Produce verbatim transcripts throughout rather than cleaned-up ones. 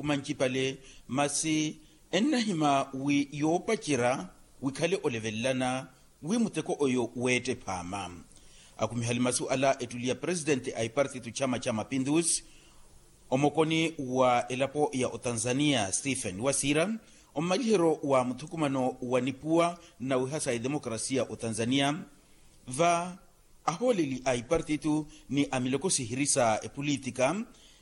mancipale, masi ennahima wi yoopacerya wikhale olevelelana wi muteko oyo weette phaama. Akhumihali masu ala ettuli ya presitenti a ipartitu chama cha mapindusi omokoni wa elapo ya otanzania stephen wasiira, ommaliheryo wa muthukumano wa nipuwa nnawiha sa edemokrasiya otanzania, va ahooleli a ipartitu ni a miloko sihiri sa epolitika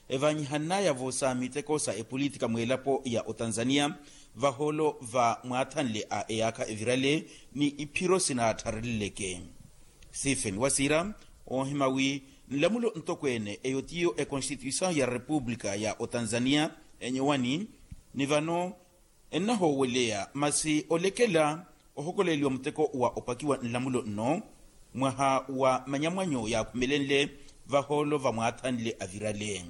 evaanyihannaya-vo sa miteko sa epolitika mweelapo ya otanzania, vahoolo va mwaathanle a eyaakha evirale ni iphiro sinaatthareleleke. Stephen wasiira oohima wi nlamulo ntokweene eyo tiyo ekonstituisaw ya repupulika ya otanzania enyowani ni vano ennahooweleya masi olekela ohokoleliwa muteko wa opakiwa nlamulo nno mwaha wa manyamwanyo yaakhumelenle vahoolo vamwaathanle avirale.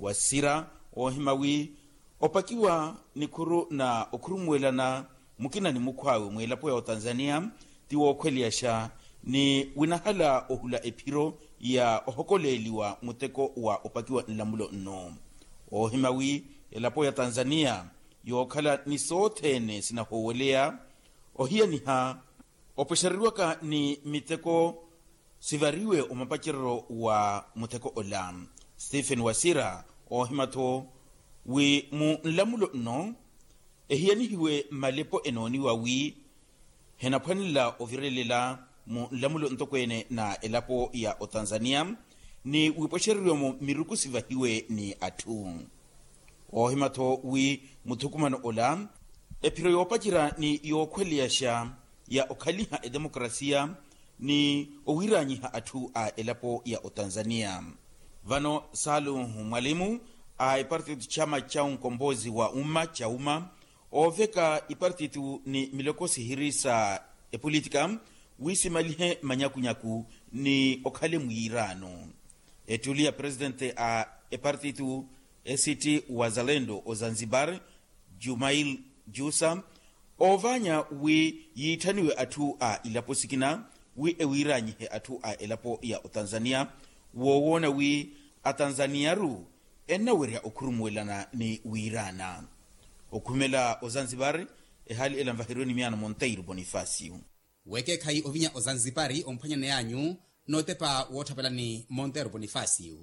Wasira oohima wi opakiwa nikhuru na okhurumuwelana mukina ni mukhw'awe mweelapo ya otanzania ti wookhweleyaxa ni winahala ohula ephiro ya ohokoleeliwa muteko wa opakiwa nlamulo nno. Oohima wi elapo ya tanzania yookhala ni sothene sinahooweleya ohiyaniha opwexereriwaka ni miteko sivariwe omapacereryo wa muteko ola. Stephen wasira oohima-tho wi mu nlamulo nno ehiyanihiwe malepo enooniwa wi henaphwanela ovirelela mu nlamulo ntokweene na elapo ya otanzania ni wipwexereriwe-mo miruku sivahiwe ni atthu. Oohima-tho wi muthukumano ola ephiro yoopacerya ni yookhweleyaxa ya okhaliha edemokrasiya ni owiiraanyiha atthu a elapo ya otanzania. Vano saluhu mwalimu a epartitu chama cha unkombozi wa umma chauma ooveka ipartitu ni miloko sihiri sa epolitika wisimalihe manyakunyaku ni okhale mwiiraano. Ettuli ya presitente a epartitu ect wazalendo ozanzibar jumail jusa oovaanya wi yiitthaniwe atthu a ilapo sikina wi ewiiraanyihe atthu a elapo ya otanzania woowoona wi atanzaniyaru ennawerya okhurumuwelana ni wiiraana. Okhumela ozanzibar ehaali ela nvaheriwe ni miyaano monteiro bonifacio. Weekeekhayi ovinya ozanzipari omphwanyaney'anyu nootepa woottapelani monteiro bonifacio.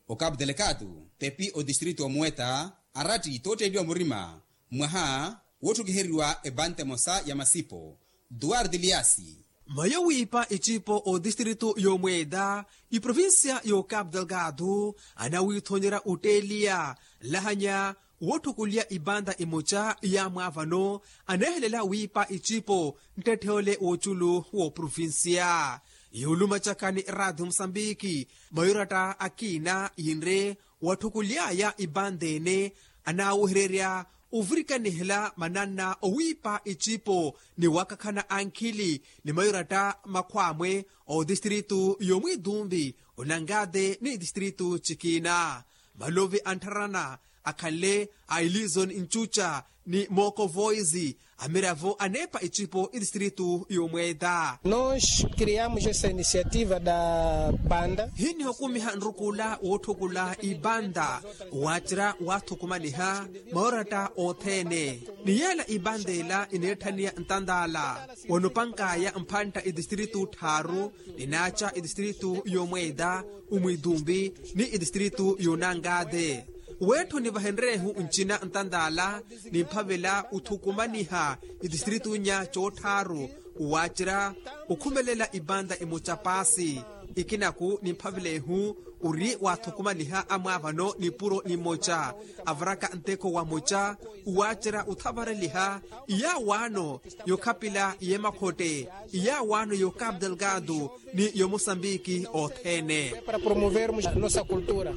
Okapu delekatu tepi otistritu omuweta aratti tootteeliwa murima mwaha wootthukihereriwa epante emosa ya masipo duwarti liyasi. Mayo wiipa icipo otistritu y'omweeta iprovincia y'okapu delgado anawiithonyerya otteeliya nlahanya wootthukuliya ipanta emoca ya mwaavano aneehelela wiipa icipo nttetthe ole w'oculu w'oprovincia. Yuulumacaka ni eraatiyo musambiki mayoratta akina yinre watthukuly'aya ipanta ene anaawehererya ovirikanihela mananna owiipa icipo ni wakakhana ankhili ni mayoratta makhw'amwe otistritu y'omwiitumpi onangate ni tistritu cikina. Malovi anttharana akhanle a ilison ncuca ni mooko voice amiravo aneepa icipo itistritu y'omweeta. Nos criamos essa iniciativa da banda. Hinihukumiha nrukula wootthukula ipanta waacerya waathukumaniha mayoratta othene ni yeela ipanta ela ineetthaniya ntantaala wanopank'aya mphantta itistritu tthaaru ninaaca itistritu y'omweeta omwiitumpi ni itistritu y'onangate. Weetthoni vahenreehu ncina ntantaala nimphavela othukumaniha itistritu nya coottharu waacerya okhumelela ipanta emoca paasi. Ikinaku nimphavelehu ori waathukumaniha amwaavano nipuro nimoca avaraka nteko wamoca waacerya othavareliha iyaawaano yokhapila y'emakhotte iyaawaano y'okapu delgado ni y'omosambiki othene. Para promovermos a nossa cultura,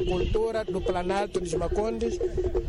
cultura do planalto dos macondes,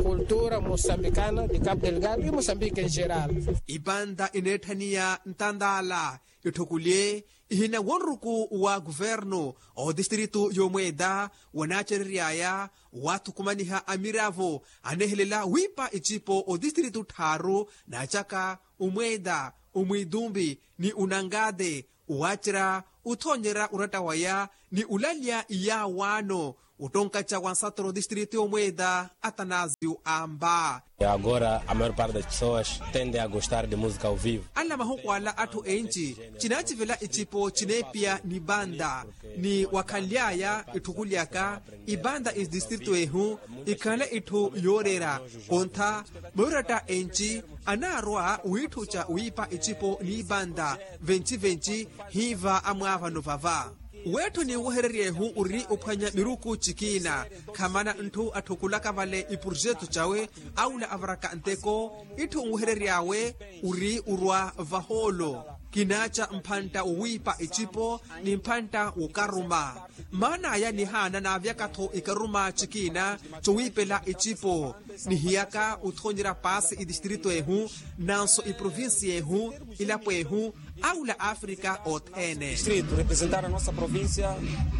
cultura moçambicana de cabo delgado e moçambique em geral. Ipanta ineetthaniya ntantaala itthukulye ihina wonruku wa kuvernu otistritu y'omweeta wanaacerery'aya waathukumaniha amiravo aneehelela wiipa icipo otistritu tthaaru naacaka omweeta omwiitumpi ni onangate waacerya othoonyerya oratta waya ni olalya iyaawaano Ottonkaca wa nsatoro distrito y'omweeda atanasio amba. Agora a maior parte das pessoas tende a gostar de música ao vivo. Ala mahuku ala atthu enci cinacivela icipo cineepiya ni banda ni wakhanly'aya itthukulyaka ibanda idistrito ehu ikhanle itthu yooreera. Kontha mayoratta enci anaarwa wiitthuca wiipa icipo ni banda venci-venci hiiva amwaavano vava. Weetthoni nwehereryehu ori ophwanya miruku cikiina khamana ntthu atthukulaka vale iprojetu cawe aula avaraka nteko itthu nweherery'awe ori orwa vahoolo kinaaca mphantta wowiipa icipo ni mphantta wokaruma. Maan'aya nihaana naavyaka-tho ikaruma cikiina cowiipela icipo nihiyaka othoonyerya paasi idistrito ehu nanso iprovincia ehu ilapo ehu aula afrika othene. Distrito representar a nossa província,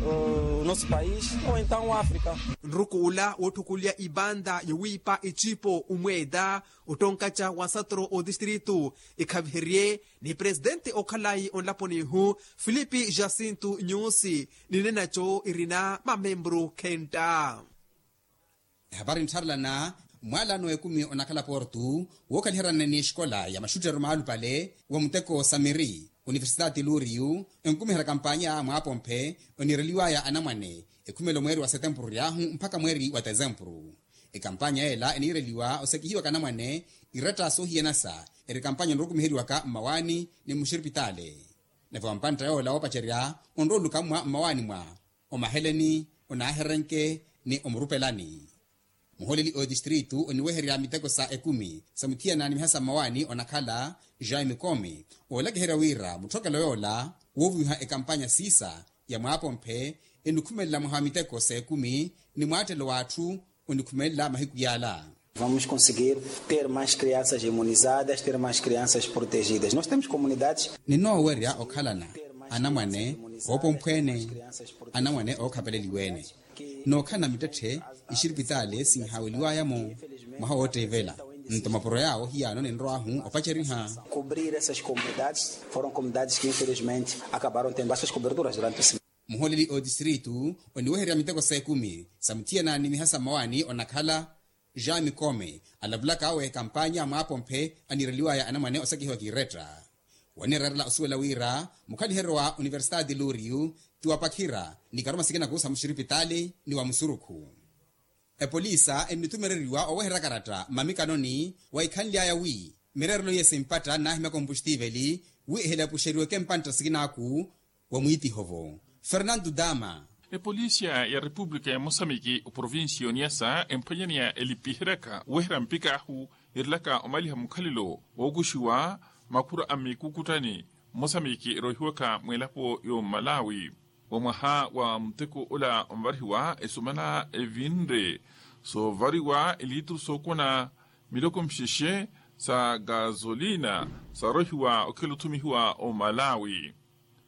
o nosso país ou então áfrica. Nruku ula wootthukulya ibanda yowiipa icipo omweeda ottonkaca wa nsatoro otistritu ikhaviherye ni presidente okhalayi onlaponi ihu filipi jacinto nyusi ninenaco irina mamembru khenta. Ehapari nttharelana mwaalano ekumi onakhala portu wookhaliherana ni exikola ya maxuttero maalupale wa muteko samiri universidade luriyu enkumiherya kampanya mwaapomphe oniireliwaya anamwane ekhumelo mweeri wa setempuru ryahu mpakha mweeri wa tesempuru. Ekampanya yeela eniireliwa osekihiwaka anamwane iretta soohiyanasa eri kampanya onrokumiheriwaka mmawaani ni mmuxiripitaale. Nave wampantta yoola woopacerya onrooluka mmwa mmawaani mwa omaheleni onaaherenke ni omurupelani. Muhooleli otistritu oniweherya miteko sa ekumi sa muthiyana ni mihasa mmawaani onakhala jaime come oolakiherya wira mutthokelo yoola woovuwiha ekampanya siisa ya mwaapomphe enikhumelela mwaha wa miteko sa ekumi ni mwaattelo w'atthu onikhumelela mahiku yaala. Vamos conseguir ter mais crianças imunizadas ter mais crianças protegidas nós temos comunidades. Ninoowerya okhalana anamwane oopomphweene anamwane ookhapeleliweene nookhalana mittetthe ixiripitaale sinhaaweliwaya-mo mwaha wootteivela nto mapuro yaawo hiyaano ninrwaahu opaceriha. Cobrir essas comunidades foram comunidades que infelizmente acabaram tendo essas coberturas durante o muhooleli otistritu oniweherya miteko sa ekumi sa muthiyana ni mihasa mmawaani onakhala jean mikome alavulaka awe kampanya mwaapomphe aniireliwaya anamwane osekihiwa kiiretta. Waniirerela osuwela wira mukhaliheryo wa universitade luriyu ti wapakhira ni karuma sikinaku sa muxiripitaali ni wa musurukhu. Epolisa ennithumereriwa oweherya karatta mmamikanoni wa ikhanly'aya wi mireerelo iye simpatha nnaahimya kompuxtiveli wi ehelepuxeriweke mpantta sikinaku wa mwiitiho-vo. Fernando dama. Epolisiya ya repupulika ya mosamiki oprovincia y'oniasa emphwanyaneya elipiheryaka oweherya mpik'ahu erilaka omaliha mukhalelo wookuxiwa makhura a mmikukuttani mmosamiki eroohiwaka mw'elapo y'omalawi. Wa mwaha wa muteko ola onvarihiwa esumana evinre soovariwa eliituru sookona miloko mixexe sa gasolina saarohiwa okhikhala othumihiwa omalawi.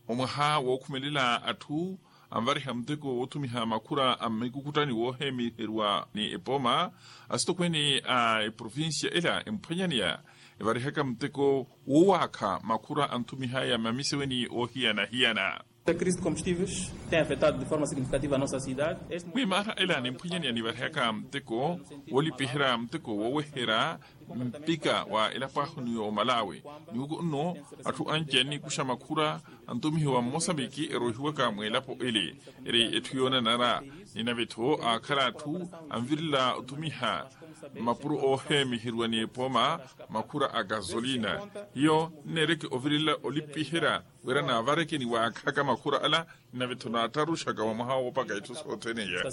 Omwaha wookhumelela atthu anvariha muteko woothumiha makhura a mmikukuttani woohemiheriwa ni epooma asitokweene a eprovincia ela emphwanyaneya evarihaka muteko woowaakha makhura anthumihaya mmamiseweni oohiyana-hiyana. Crise de combustíveis tem afetado de forma significativa a nossa cidade. Mwimaana ela nimphwanyaneya nivarihaka muteko woolipiherya muteko wooweherya mpika wa elapo ahu ni omalawi. Niwuko nno atthu anci anniikuxa makhura antumihiwa mmosambiki eroohiwaka mw'elapo ele eri etthu yoonanara. Ninave-tho aakhala atthu anvirela otumiha mmapuro oohemiheriwa ni epooma makhura a gasolina hiyo nneereke ovirela olipiherya wira naavareke ni waakhaka makhura ala. Ninave-tho naattaruxaka wa mwaha woopaka itthu sothene iya.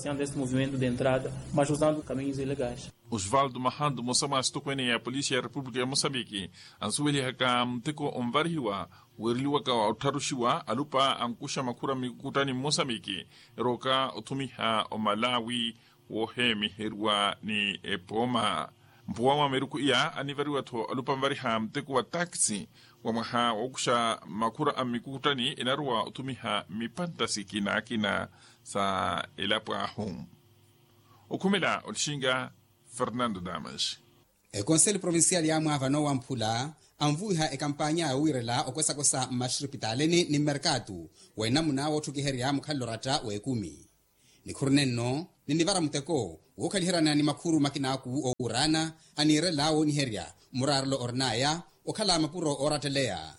Osvaldo mahandu mmosa mwa asitokweene ya polisi ya repupulika ya mosambiki ansuwelihaka muteko onvarihiwa weereliwaka ottharuxiwa alupa ankuxa makhura mmikukuttani mmosamiki erooka othumiha omalawi woohemiheriwa ni epooma. Mpuwa mwa miruku iya anivariwa-tho alupa anvariha muteko wa taxi wa mwaha wookuxa makhura a mmikukuttani enarowa othumiha mmipantta sikina-kina sa elapo ahu. Okhumela olixinga fernando damas. Ekonseli provincial yaamwaavano wamphula anvuwiha ekampanya yowiirela okwesakwesa mmaxiripitaalini ni mmerkatu wa enamuna wootthukiherya mukhalelo oratta w'ekumi. Nikhuru nenno ninivara muteko wookhaliheryana ni makhuru makinaku owuuraana aniirela wooniherya muraarelo orin'aya okhala mapuro ooratteleya.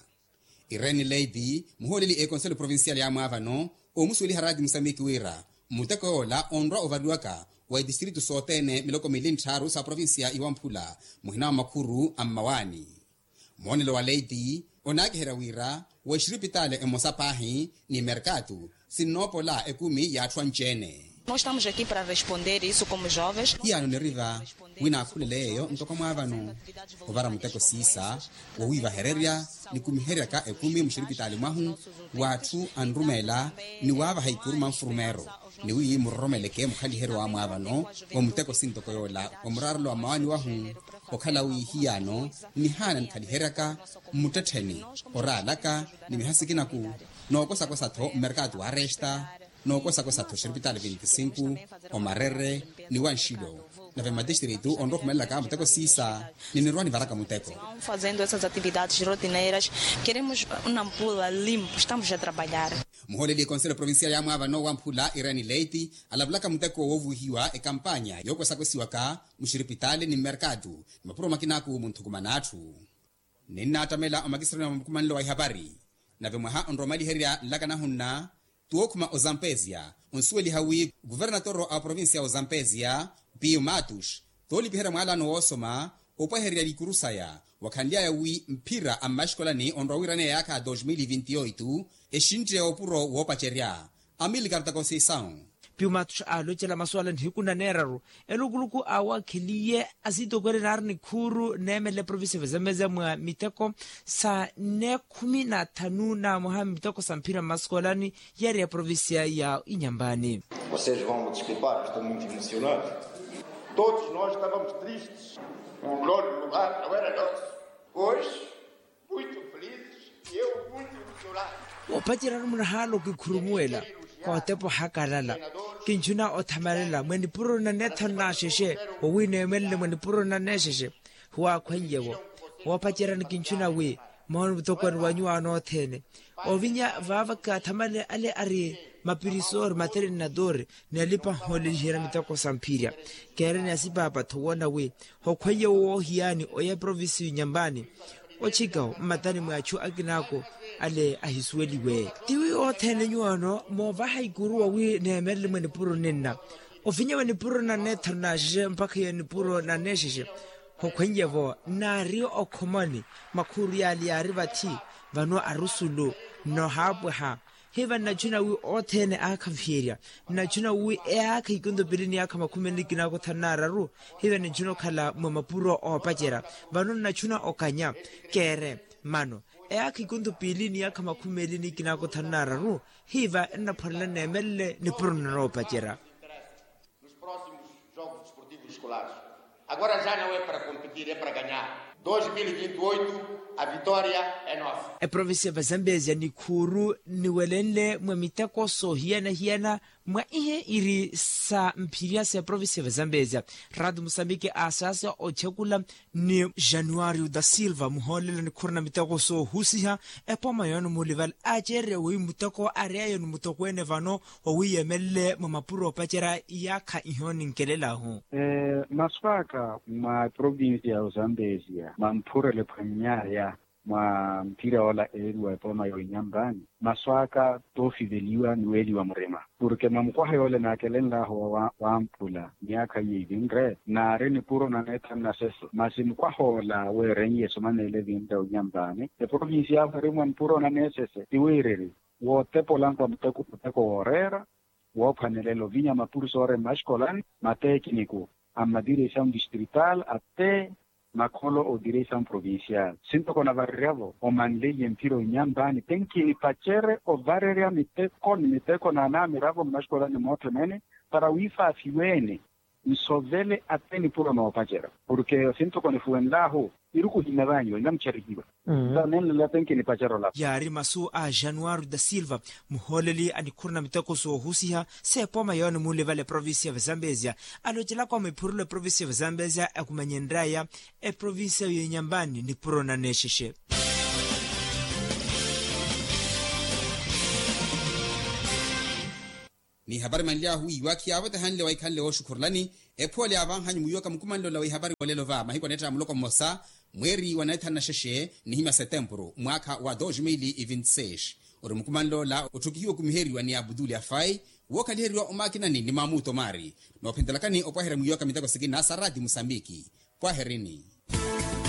Irene leiti muhooleli ekonselo provincial ya mwaavano oomusuweliha raati musamiki wira muteko yoola onrwa ovariwaka wa itistritu sothene miloko mili ntthaaru sa provincia iwamphula muhina wa makhuru a mmawaani. Moonelo wa leiti onaakiherya wira wa exiripitaali emosa paahi ni merkatu sinnoopola ekumi y'atthu anci-ene. Nós estamos aqui para responder isso como jovens. Hiyano niriva wi naakhulele yeeyo ntoko mwaavano ovara muteko siisa wowiivahererya nikumiheryaka ekumi muxiripitaali mwahu w'atthu anrumeela ni waavaha ikuru manfurumeero ni wi muroromeleke mukhaliheryo wa mwaavano wa muteko sintoko yoola wa muraarelo wa mmawaani wahu. Okhala wi hiyano nihaana nikhaliheryaka mmuttettheni oraalaka ni miha sikinaku nookosakosa-tho mmerkatu wa aresta nookosakosa-tho xiripitaali vinti sinku omarere ni wanxilo. Nave mmatistritu onrowa okhumelelaka muteko siisa ninirwa nivaraka muteko. Fazendo essas atividades rotineiras, queremos nampula limpo estamos a trabalhar. Muhooleli ekonselo provincial ya mwaavano wa mphula irene leiti alavulaka muteko woovuhiwa ekampanya yookwesakosiwaka muxiripitaali ni mmerkatu ni mapuro makinaku munthukumana atthu. Ninnaattamela omakisirani wa mukumanelo wa ihapari nave mwaha onrowa omaliherya nlaka nahunna tuwookhuma ozampesia onsuweliha wi kuvernatoro a provincia ya ozampesia piyu matus toolipiherya mwaalano woosoma opwahererya likuru saya wakhanly'aya wi mphira a mmaxikolani onrowa wiiraneya yaakha dos mil vinti oitu exintte opuro woopacerya amilcar takonseisawu. Piyu matus aalocela masu ala nihiku naneeraru elukuluku awakheliye asitokweene naari nikhuuru neemelela eprovincia vazamezia mwa miteko sa neekhumi na thanu na mwaha miteko sa mphira mmaskolani yari eprovincia ya inyambani. Vocês vão me desculpar, estou muito emocionado. Todos nós estávamos tristes. O glória do lar não era nosso. Hoje muito felizes e eu muito emocionado. Woopacerya-ru munahaala okikhurumuwela kootepa ohakalala. Kinchuna othamalela mwa nipuro na neethanu na axexe wowi neemelele mwa nipuro na neexexe. Huwaakhweiye-vo woopacerya ni kinchuna wi moona mutokwani wa nyuwaano othene ovinya vaava kaathamalele ale ari mapirisoori materinadori ni alipa nhooleliherya miteko sa mphirya. Keereni asipaapa-tho woona wi hokhweiye woohiyaani oya eprovinciyu nyambani ochikawo mmatani mwa achu akinako ale ahisuweliwe. Tiwi othene nyuwaano moovaha ikuru wawi neemelele mwa nipuro ninna ovinya mwa nipuro na neethanu na axexe mpakha ya nipuro na neexexe. Hokhweiye-vo nnaari okhomoni makhuuru yaale yaari vathi vano arusulu nnohaapwaha. Hiva nnachuna wi othene aakhaviherya nnachuna wi eyaakha ikonto piili ni yaakha makhumi eli kinaakotha nnaararu. Hiva nnachuna okhala mwa mapuro oopacerya vano nnachuna okanya keere mano eyaakha ikonto piili ni yaakha makhumi eli ni kinaakotha nnaararu. Hiva ennaphwanela nneemelele nipuro nnanoopacerya. Nos próximos jogos desportivos escolares. Agora já não é para competir, é para ganhar. Dois mil e vinte e oito, a vitória é nossa. Eprovincia va zambezia nikhuuru niwelenle mwa miteko soohiyana-hiyana mwa ihe iri sa mphirya sa eprovincia va zambezia. Ratu musambiki aasaasa ochekula ni januario da silva muhoolelo nikhurana miteko soohusiha epooma yono mulivala aaceererya wi muteko ari ayo ni muteko ene vano owiiyemelele mwa mapuro opacerya iyaakha iho ninkelelahu. Masu aka mwa provincia ya ozambesia mwa mphurele phwannyaya mwa mphira ola eeriwa epooma ya oinyambaani. Masu aka toofiveliwa ni weeliwa murima purke mwa mukwaha yoole naakelenlahu wa wampula miyaakha iye ivinre naari nipuro na neethanu na sese masi mukwaha ola weerenye esomanele evinre oinyambaani eprovincia yahu eri mwa nipuro na neesese ti wiiriri wootepolanku a muteko muteko wooreera woophwanelela ovinya mapurisoore mmaxikolani mateekiniku a mmadiresawu distrital atte makholo o diresawu provincial sintoko navareryavo omanleiye mphira oinyambaani tenkinipacere ovarerya miteko ni miteko naanaamiravo mmaxikolani moothene ene para wiifaafiweene nsovele atte nipuro noopacerya purke sintoko nifuwenlahu iruku hinnavaanyiwa innamucharihiwa. Sa nenlela tenkinipacera olapa. Yaari masu a januario da silva muhooleli a nikhuru na miteko soohusiha s'epooma yoone mulivala eprovincia va zambezia alocelaka omiphurula eprovincia va zambezia akumanyenryaya eprovincia y'inyambani nipuro na neexexe. N'ihapari manly'ahu iwakhiyavo tahanle waikhanle wooxukhurulani. Ephoole yaavanhanyu mwiiwaka mukumanle ola w'ihapari wa olelo va mahiku aneetta muloko mmosa, mweeri wa naithanu na xexe nihimya setempuru mwaakha wa dos mil e vinti seis. Ori mukumanle ola otthukihiwa okumiheriwa ni abutuli afai, wookhaliheriwa omaakinani ni maamuto maari. Noophintelakani opwaherya mwiiwaka miteko sikina sa raati musambiki. Pwaherini.